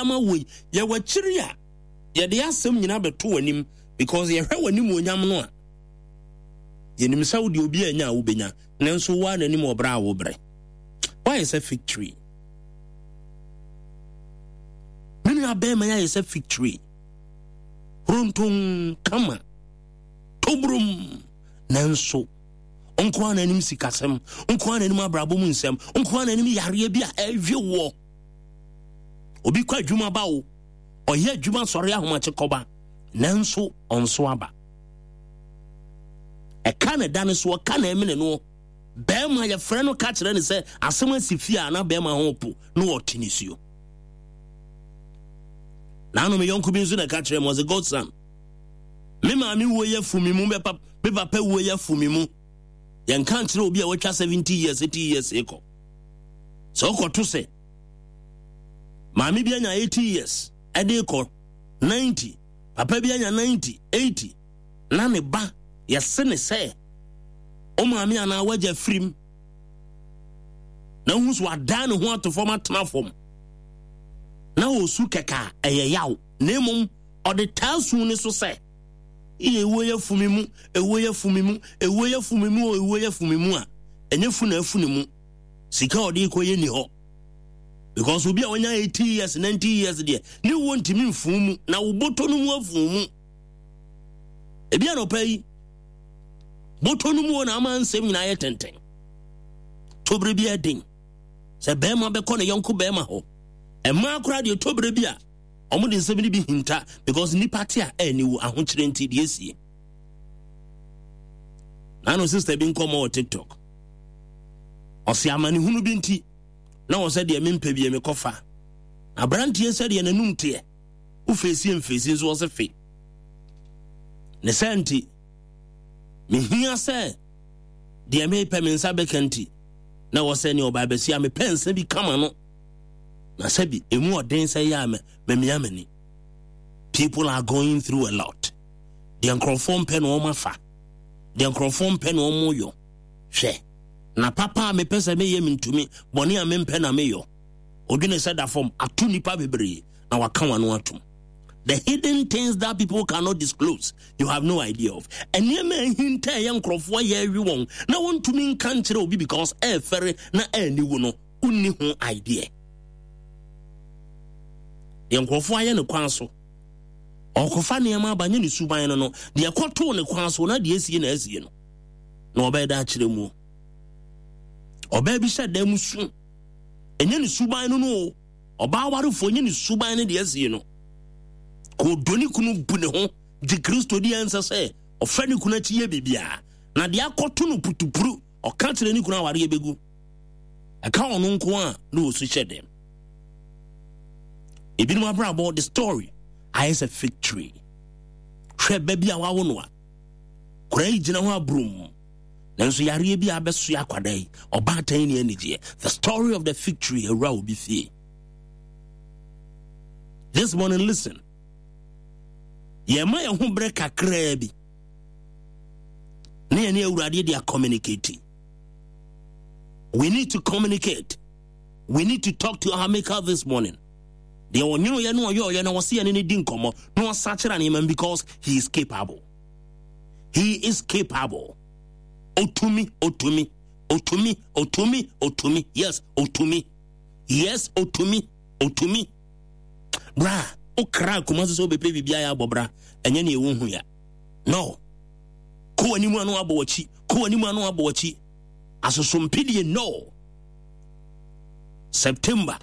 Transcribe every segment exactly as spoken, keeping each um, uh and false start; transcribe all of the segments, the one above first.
Ama wo yi, yɛwɔ akyiri a yɛde asɛm nyinaa bɛto w'anim because yɛhwɛ w'anim onyam no a, yɛnim sɛ wode obi anya a wobɛnya, nanso woa n'anim ɔbrɛ a wobrɛ. Woayɛ sɛ fig tree. Me nua bɛrima yɛ ayɛ sɛ fig tree, ronton kama tobrom, nanso nko ara n'anim sikasɛm, nko ara n'anim abrabɔ mu nsɛm, nko ara n'anim yareɛ bi a ɛhwe woɔ. Obi kɔ adwuma ba o, ɔyɛ adwuma sɔre ahomakye kɔba, nanso ɔnso aba. Ɛka ne da ne so, ɔka na ɛmene no. Bɛrima yɛfrɛ no ka kyerɛ ne sɛ asɛm asi fie a, na bɛrima ho po na ɔte ne suo. Naano me yɔnko bi nso na ɛka kyerɛ me, ɔsɛ, "Godson, me maame wuo yɛ fu me mu, me papa wuo yɛ fu me mu." Yɛnka nkyerɛ obi a watwa seventy years, eighty years kɔ sɛ wokɔto sɛ maame bi anya eighty years ɛde kɔ ninety, papa bi anya ninety, eighty, na ne ba yɛse ne sɛ wo maame anaa wagya firim, na wohu so wadan ne ho ato fam, atena fam na ɔsu kɛkɛ a, ɛyɛ yaw. Na mmom ɔde taa su ne so sɛ yɛ ewuo yɛ fu mi mu, ewuo yɛ fu mi mu, ewuo yɛ fu mi mu o, ewuo yɛ fu mi mu a, ɛnyɛ fu na afu ne mu. Sika a ɔde kɔ yɛ ni hɔ because obi a wanya eighty years, ninety years deɛ, ne wuo ntumi nfu mu na wo bɔtɔ no mu afu mu. Ebi anɔpa yi bɔtɔ no mu wɔ na ama nsɛm nyinaa yɛ tɛntɛn. Tobere bi ɛden sɛ bɛrima bɛkɔ ne yɔnko bɛrima hɔ. Mmaa koraa deɛ, tobere bi a ɔmo de nsɛm no bi hinta because nipa te a ɛni wo ahokyerɛ nti deɛ esie. Naano sister bi nkɔmɔ wɔ TikTok, ɔsi amanehunu bi nti na wɔ sɛ deɛ mempɛ bi mekɔfa aberanteɛ sɛ deɛ n'anum teɛ wofeesi mfeesi nso ɔsɛ fe ne sɛ nti mehia sɛ deɛ mepɛ me nsa bɛka nti na wɔ sɛ ne ɔbaa bɛsi a mepɛ nsa bi kama no na sɛbi emu ɔden sɛ yɛ a mamia m'ani. People are going through a lot. Deɛ nkurɔfoɔ mpɛ na wɔn afa, deɛ nkurɔfoɔ mpɛ na wɔn yɔ. Hwɛ na papa a mepɛ sɛ meyɛ mentumi, bɔne a mempɛ na meyɔ. Odwene sɛ da fam ato nipa bebree na waka wano atom. The hidden things that people cannot disclose, you have no idea of. Nneɛma ahinta ɛyɛ nkurɔfoɔ yɛ awi wɔn na wɔntumi nka nkyerɛ obi because ɛɛfɛre na ɛɛniwu no, wonni ho idea. Deɛ nkurɔfoɔ ayɛ ne kwan so, ɔkɔfa nneɛma aba nye ne suban no no deɛ ɛkɔtoo ne kwan so na deɛ esie na esie no na ɔbɛyɛ da akyerɛ mu. Ɔbaa bi hyɛ dan mu su, ɛnyɛ ne suban no no o. Ɔbaa awarefoɔ, nyɛ ne suban no deɛ esie no. Kò dɔ ne kunu, bu ne ho gye Kristo di, ɛnsɛ sɛ ɔfɛ ne kunu akyi yɛ biribiara na deɛ akɔto no putupuru, ɔka kyerɛ ne kunu awareɛ bɛgu. Ɛka ɔno nko a na ɔsu hyɛ dɛm. Ebinom abrabɔ, the story ayɛ sɛ fig tree. Hwɛ ba bi a wawo no a kora yi gyina hɔ aburom, nanso yareɛ bi a abɛsoa akwadaa yi, ɔbaatan ne anigyeɛ. The story of the fig tree awura obi fie this morning. Listen, yɛma yɛn ho berɛ kakraa bi na yɛne Awurade de acommunicate. We need to communicate. We need to talk to our Maker this morning. Deɛ ɔnwono yɛ no, ɔyɛ ɔyɛ na wɔsi yɛne ne di nkɔmmɔ na ɔsakyera nneɛma because he is capable. He is capable. Otumi, otumi, otumi, otumi, otumi. Yes, otumi. Yes, otumi, otumi. Bra wokra akoma so sɛ wobɛpɛ biribi ayɛ abɔ bra, ɛnyɛ ne ɛwo hu ya no. Kɔ w'anim ano abɔ w'akyi, kɔ w'anim ano abɔ w'akyi, asosompidie no. September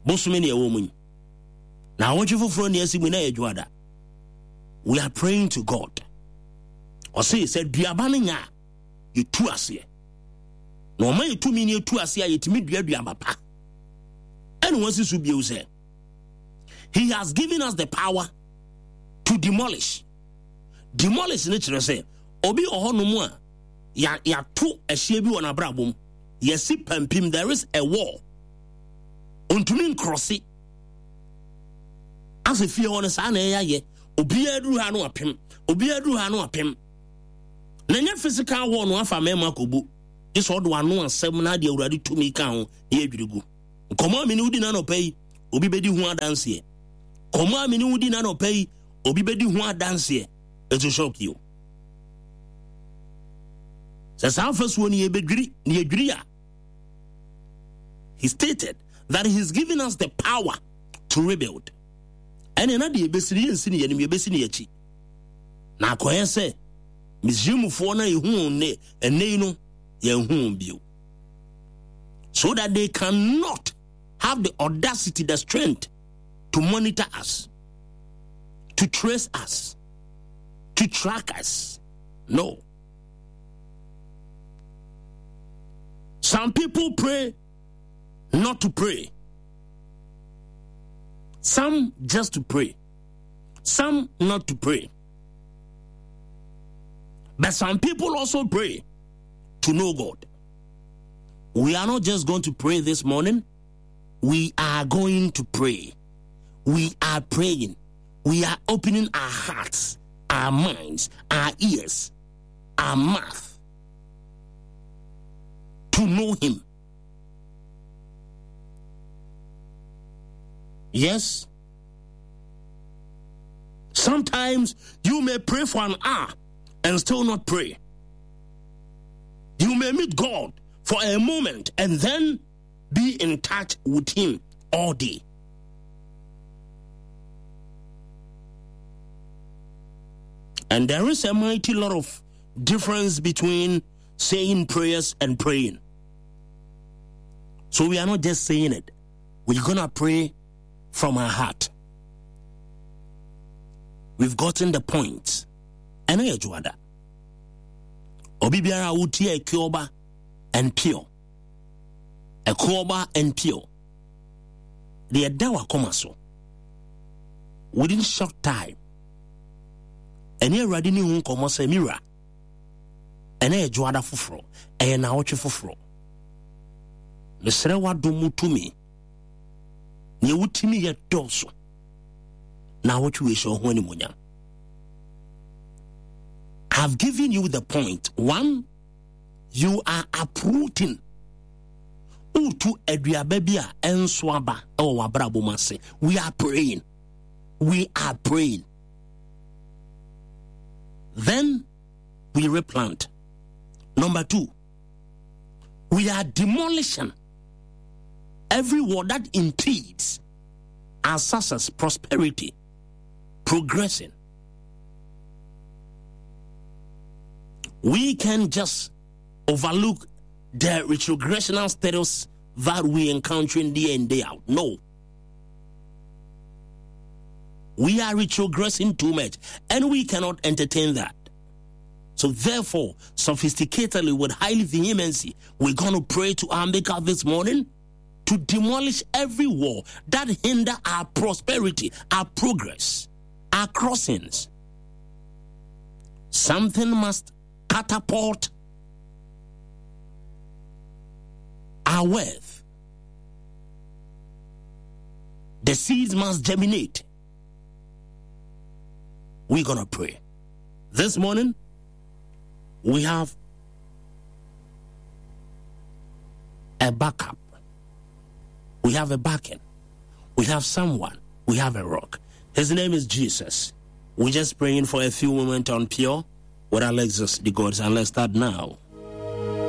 bosome ne ɛwɔ mu yi na awɔtwe foforɔ ne asi mu na ɛyɛ dwoada. We are praying to God. Ɔse sɛ duaba no nya a, yɛtu aseɛ na ɔma yɛtumi ne yɛtu aseɛ a, yɛtumi dua duaba pa. Ɛne wɔasi so bio sɛ he has given us the power to demolish. Demolish ne kyerɛ sɛ obi wɔ hɔnom a yɛato ɛhyeɛ bi wɔ n'abrabɔ mu, yɛsi pampim. There is a wall, ntumi nkrɔse asɛ fie hɔ no. Saa na ɛyɛ ayɛ obiara duru ha no apem, obiara duru ha no apem, na nyɛ physical wall no afa mmarima akɔbu gye sɛ ɔde ano asɛm na ade Awurade tumi ka ho na yɛdwiri gu. Nkɔmmɔ a mene wodi no anɔpa yi, obi bɛdi ho adanseɛ. Kɔmɔ a me ne wo di na anɔpa yi, obi bɛdi ho adanseɛ. It will shock you. Sɛ saa afasuo no yɛbɛdwiri na yɛdwiri a, he stated that he's given us the power to rebuild. Ɛne na deɛ yɛbɛsi no yɛnsi no yɛnim, yɛbɛsi no yɛakyi. Na akɔyɛ sɛ Misraimfoɔ no a yɛhu wɔn nnɛ ɛnnɛ yi no, yɛnhu wɔn bio. So that they cannot have the audacity, the strength to monitor us, to trace us, to track us. No. Some people pray not to pray. Some just to pray. Some not to pray. But some people also pray to know God. We are not just going to pray this morning. We are going to pray. We are praying. We are opening our hearts, our minds, our ears, our mouth to know Him. Yes. Sometimes you may pray for an hour and still not pray. You may meet God for a moment and then be in touch with Him all day. And there is a mighty lot of difference between saying prayers and praying. So we are not just saying it, we're gonna pray from our heart. We've gotten the point. Ɛno yɛ dwoada. Obi biara a wotie Ekuoba and Pure. Ekuoba and Pure. Deɛ ɛda wakoma so. Within short time. Ɛne Awurade ne ho nkɔmmɔ sɛ mira. Ɛnɛ yɛ dwoada foforɔ. Ɛyɛ naawɔtwe foforɔ. Mesrɛ w'adom mu tumi. Nea wotumi yɛ dɔɔso. Naawɔtwe wei hyɛ wo ho animuonyam. I've given you the point. One, you are uprooting. Wotu aduaba bi a ɛnso aba ɛwɔ w'abrabɔ mu ase. We are praying. We are praying. Then we replant. Number two, we are demolishing every wall that impedes our success, prosperity, progressing. We can just overlook the retrogressional status that we encounter in day in, day out. No. We are retrogressing too much, and we cannot entertain that. So therefore, sophisticatedly, with highly vehemency, we're going to pray to our Maker this morning to demolish every wall that hinder our prosperity, our progress, our crossings. Something must catapult our wealth. The seeds must germinate. We're going to pray. This morning, we have a backup. We have a backing. We have someone. We have a rock. His name is Jesus. We're just praying for a few moments on Pure with Alexis the Gods, and let's start now.